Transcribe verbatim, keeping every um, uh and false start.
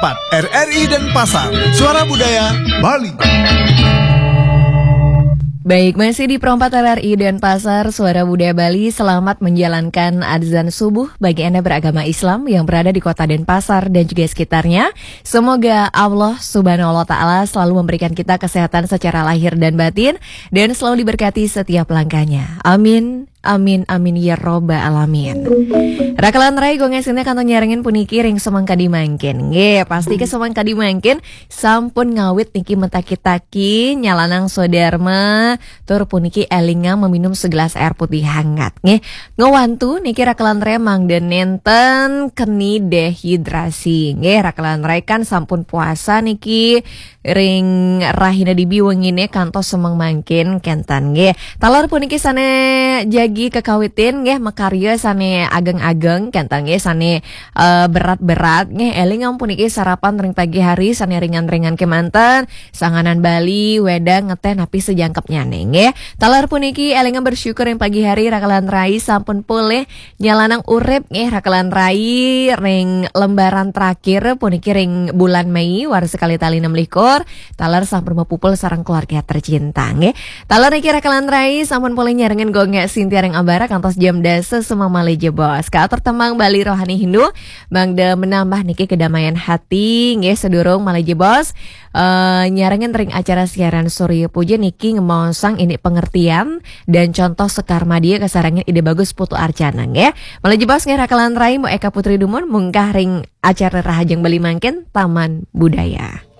empat R R I Denpasar, Suara Budaya Bali. Baik, masih di Pro empat R R I Denpasar, Suara Budaya Bali. Selamat menjalankan azan subuh bagi Anda beragama Islam yang berada di kota Denpasar dan juga sekitarnya. Semoga Allah Subhanahu wa Ta'ala selalu memberikan kita kesehatan secara lahir dan batin dan selalu diberkati setiap langkahnya. Amin. Amin, amin, ya robbal alamin. Rakalan rai, gong S N T kantun nyarengin puniki ring semeng kadi mangkin. Nggih, pasti ke semeng kadi mangkin sampun ngawit niki mentaki-taki nyalanang swadarma, tur puniki elingang meminum segelas air putih hangat. Nggih, ngewantu niki rakalan rai mangda nenten keni dehidrasi. Nggih, rakalan rai kan sampun puasa niki ring rahina dibi wengine kantos semeng mangkin kenten nggih. Taler puniki sane jagi kekawitin nggih, makarya sane ageng-ageng kenten nggih, sane eh, berat-berat nggih. Elingang puniki sarapan ring pagi hari sane ringan-ringan kemanten, sanganan bali, wedang, ngeteh napi sejangkepnyane nggih. Taler puniki elingang bersyukur ring pagi hari rakalan rai sampun polih nyalanang urip nggih rakalan rai ring lembaran terakhir puniki ring bulan Mei warsa kalih tali enam likur, taler sampun mapupul sareng keluarga tercinta nggih. Taler niki rakalan rai sampun polih nyarengin gong Sintia ring ambara kantos jam dasa semeng malih jebos. Katur tembang Bali Rohani Hindu mangda menambah niki kedamaian hati nggih sedurung malih jebos. Eh, nyarengin ring acara siaran Surya Puja niki ngemaosang ini pengertian dan contoh sekar madya kasarengin Ida Bagus Putu Arcana nggih. Malih jebos nggih rakalan rai, Mbok Eka Putri dumun munggah ring acara Rahajeng Bali mangkin Taman Budaya.